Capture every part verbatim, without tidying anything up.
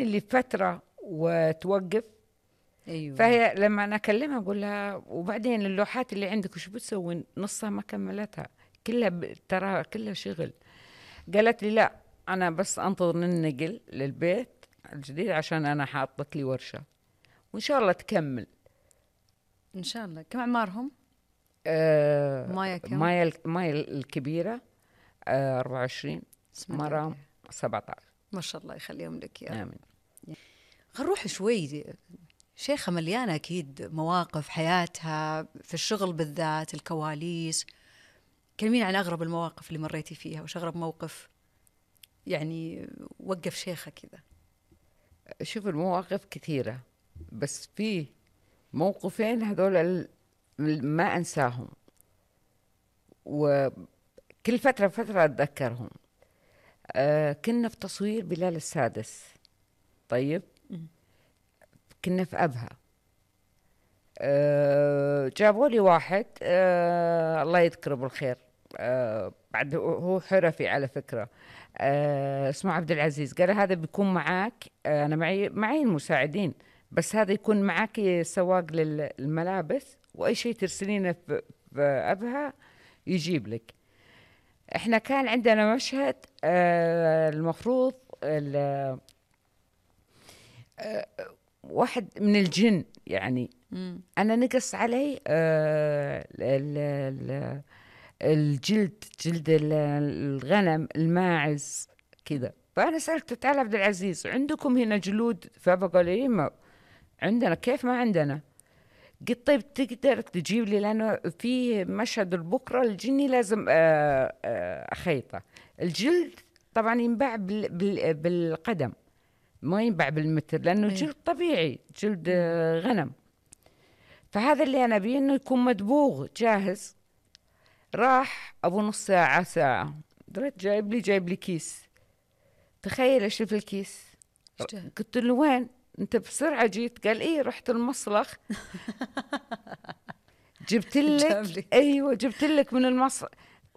اللي فترة وتوقف. أيوة. فهي لما أنا أكلمها أقول لها وبعدين اللوحات اللي عندك وش بتسوي؟ نصها ما كملتها، كلها ب... ترى كلها شغل. قالت لي لا أنا بس أنتظر ننقل للبيت الجديد عشان أنا حاطت لي ورشة وإن شاء الله تكمل إن شاء الله. كم أعمارهم؟ آه مايا كم؟ مايا مايا الكبيرة آه أربعة وعشرين، مرام سبعة عشر. ما شاء الله يخليهم لك يا آمين. نروح شوي. شيخة مليانة أكيد مواقف حياتها في الشغل بالذات، الكواليس. كلمين عن أغرب المواقف اللي مريتي فيها، وش أغرب موقف يعني وقف شيخة كذا؟ شوف المواقف كثيرة بس في موقفين هذول ما أنساهم وكل فترة فترة أتذكرهم. آه كنا في تصوير بلال السادس. طيب كنا في أبها. آه جابوا لي واحد آه الله يذكره بالخير، آه بعد هو حرفي على فكرة، آه اسمه عبد العزيز. قال هذا بيكون معاك، آه أنا معي معي المساعدين بس هذا يكون معاك سواق للملابس وأي شيء ترسلينه في أبها يجيب لك. احنا كان عندنا مشهد آه المفروض آه واحد من الجن يعني مم. أنا نقص علي آه ال ال الجلد، جلد الغنم الماعز كذا. فأنا سألته تعال عبد العزيز عندكم هنا جلود؟ فبقول لي ما عندنا. كيف ما عندنا؟ قلت طيب تقدر تجيب لي لأنه في مشهد بكرة الجني لازم آه آه أخيطه. الجلد طبعا ينباع بال بال بالقدم ما ينباع بالمتر لأنه أيه. جلد طبيعي، جلد آه غنم. فهذا اللي أنا بيه إنه يكون مدبوغ جاهز. راح أبو نص ساعة ساعة دريت جايب لي جايب لي كيس. تخيل إيش في الكيس. قلت له وين أنت بسرعة جيت؟ قال إيه رحت المصلخ جبت لك. أيوة جبت لك من المصلخ.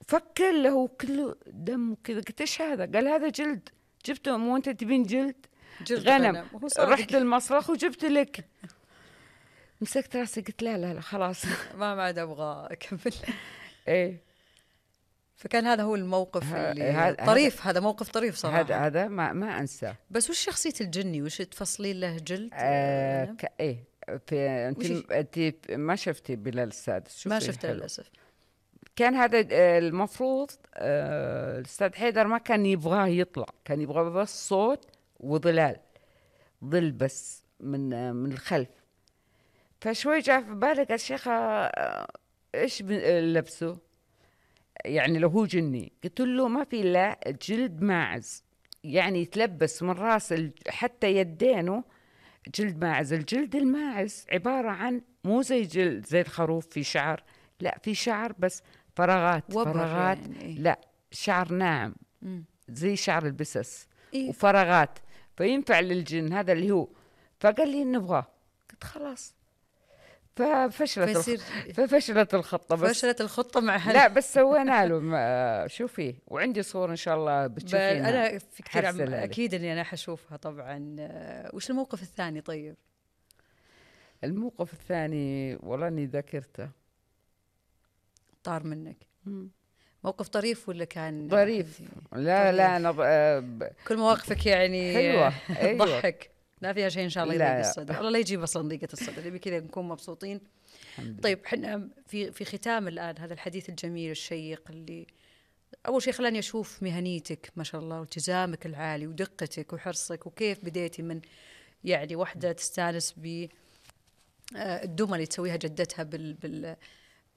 فكر له كله دم وكذا. قلت إيش هذا؟ قال هذا جلد جبته. مو أنت تبين جلد جلد غنم, غنم. رحت المصلخ وجبت لك. مسكت راسي قلت لا لا لا خلاص ما بعد أبغى أكمل. إيه. فكان هذا هو الموقف اللي هذا طريف. هذا موقف طريف صراحة. هذا هذا ما ما أنساه. بس وش شخصية الجني؟ وش تفصلين له جلد؟ آه ك... إيه في أنت أنت ما شفتي بلال السادس؟ ما شفته للأسف. كان هذا المفروض آه الأستاذ حيدر ما كان يبغاه يطلع، كان يبغى بس صوت وظلال، ظل بس من من الخلف. فشوي جاء في بالي قال شيخة آه إيش لبسه يعني لو هو جني؟ قلت له ما في إلا جلد ماعز يعني يتلبس من راس حتى يدينه جلد ماعز. الجلد الماعز عبارة عن مو زي جلد زي الخروف في شعر، لا في شعر بس فراغات فراغات يعني. لا شعر ناعم مم. زي شعر البسس. إيه؟ وفراغات فينفع للجن هذا اللي هو. فقال لي نبغاه. قلت خلاص. ففشلت فيصير... الخ... ففشلت الخطة بس فشلت الخطة مع هل... لا بس سوينا له ما... شوفي وعندي صور إن شاء الله بتشوفينها. أنا في كثير عم... أكيد إني أنا حشوفها طبعا. وش الموقف الثاني طيب؟ الموقف الثاني والله إني ذاكرته طار منك. مم. موقف طريف ولا كان ظريف؟ لا طريف. لا أنا ب... كل مواقفك يعني حلوة. أيوة. ضحك لا فيها شيء إن شاء الله يضيق الصدر. الله لا يجيب أصلا ضيقة الصدر بكذا نكون مبسوطين. طيب حنا في في ختام الآن هذا الحديث الجميل الشيق اللي أول شيء خلاني أشوف مهنيتك ما شاء الله والتزامك العالي ودقتك وحرصك وكيف بديتي من يعني واحدة تستانس ب الدمى اللي تسويها جدتها بال بال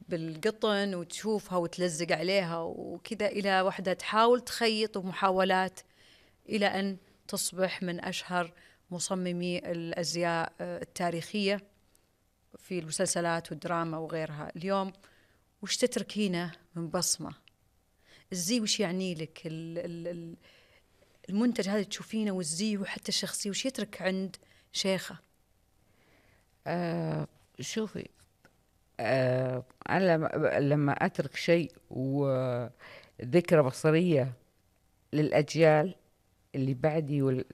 بالقطن وتشوفها وتلزق عليها وكذا إلى واحدة تحاول تخيط ومحاولات إلى أن تصبح من أشهر مصممي الأزياء التاريخية في المسلسلات والدراما وغيرها. اليوم وش تتركينه من بصمة؟ الزي وش يعني لك؟ المنتج هذا تشوفينه والزي وحتى الشخصية وش يترك عند شيخة؟ آه شوفي آه أنا لما أترك شيء وذكرى بصرية للأجيال اللي بعدي والأجيال